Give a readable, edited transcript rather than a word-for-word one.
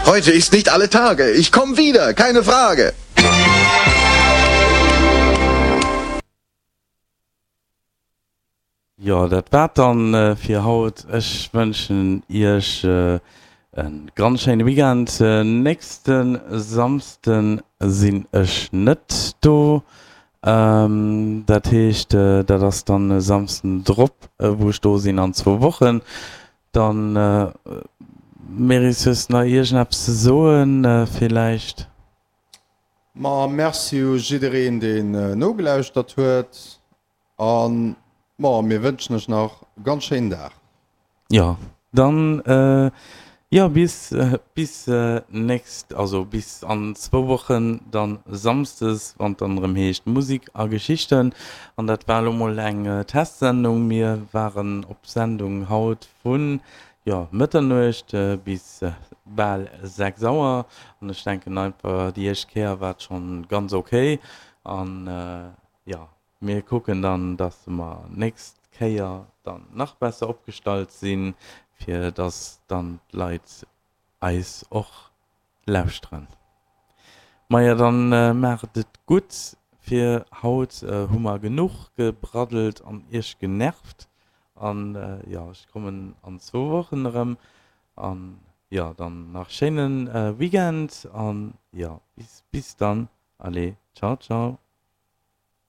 Heute ist nicht alle Tage. Ich komm wieder, keine Frage. Jo, dat war et dann fir haut. Ech wënschen iech e ganz schéine Weekend. Nächste Samsden sinn ech net do. Dat heescht, dat ass dann e Samsden drop, wou ech do sinn an zwou Wochen. Dann, Meris, hues de nach iergendeppes ze soen villäicht? Ma merci u jiddereen, deen nogelauschtert huet. An ma mir wënschen iech nach e ganz schéinen Dag. Jo, dann jo bis bis nächst, also bis an zwou Wochen dann Samsdes, wann et dann erëm heescht Musik a Geschichten. An dat war elo mol eng Testsendung. Mir waren op Sendung haut vun jo Mëtternuecht bis bal 6 Auer an ech denken einfach déi éischt Kéier war et schonn ganz ok an jo Mir kucken dann, dass mer nächst Kéier dann nach besser opgestallt sinn, fir dass dann d'Leit eis och lauschteren. Maja, dann maacht et gutt fir haut. Hu mer genuch gebraddelt an iech genervt. An jo, ech kommen an zwou Wochen erëm. An jo, dann nach schéine Weekend an jo, bis bis dann. Allez, ciao ciao.